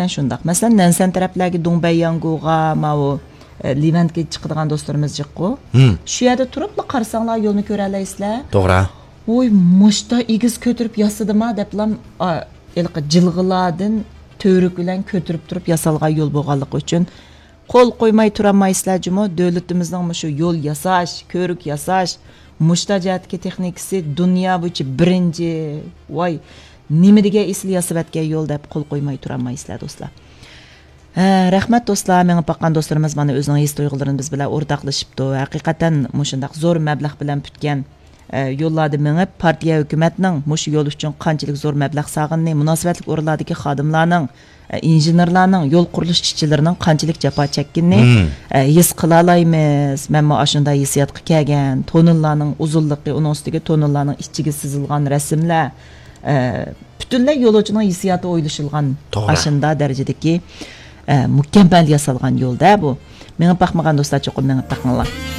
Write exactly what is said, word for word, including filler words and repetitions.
شۇنداق. مەسىلەن، نەنسەن تەرەپلەرگە دۇڭبەيياڭگۇغا، ماۋۇ، ئە، لىۋەنگە چىقىدىغان دوستلىرىمىز جىققۇ. شۇ يەردە تۇرۇپلا قارىساڭلار يولنى كۆرەلەيسىلەر. توغرا. ۋوي، مۇشتا ئېگىز كۆتۈرۈپ ياسىدىما دەپلام، ئا، ھېلىقى جىلغىلاردىن تۈۋرۈك بىلەن كۆتۈرۈپ تۇرۇپ ياسالغان يول بولغانلىقى ئۈچۈن قول قويماي تۇرالمايسىلەر جۇمۇ. دۆلىتىمىزنىڭ مۇشۇ يول ياساش، كۆۋرۈك ياساش، مۇشتا جەھەتتىكى تېخنىكىسى دۇنيا بويىچە بىرىنچى. ۋاي، نېمە دېگەن ئېسىل ياسىۋەتكەن يول دەپ قول قويماي تۇرالمايسىلەر دوستلار. ھە، رەھمەت دوستلار، مېڭىپ باققان دوستلىرىمىز مانا ئۆزىنىڭ ھېس تۇيغۇلىرىنى بىز بىلەن ئورتاقلىشىپتۇ. ھەقىقەتەن مۇشۇنداق زور مەبلەغ بىلەن پۈتكەن، ئە، يوللاردا مېڭىپ، پارتىيە، ھۆكۈمەتنىڭ مۇشۇ يول ئۈچۈن قانچىلىك زور مەبلەغ سالغىنىنى، مۇناسىۋەتلىك ئورۇنلاردىكى خادىملارنىڭ، ئە، ئىنژېنېرلارنىڭ، يول قۇرۇلۇش ئىشچىلىرىنىڭ قانچىلىك جاپا چەككىنىنى، ئە، ھېس قىلالايمىز. مەنمۇ ئاشۇنداق ھېسسىياتقا كەلگەن. توننېللارنىڭ ئۇزۇنلۇقى، ئۇنىڭ ئۈستىگە توننېللارنىڭ ئىچىگە سىزىلغان رەسىملەر، ئە، پۈتۈنلەي يولۇچىنىڭ ھېسسىياتى ئويلىشىلغان توغرا. ئاشۇنداق دەرىجىدىكى، ئە، مۇكەممەل ياسالغان يولدا بۇ. مېڭىپ باقمىغان دوستلار چوقۇم مېڭىپ باقىڭلار.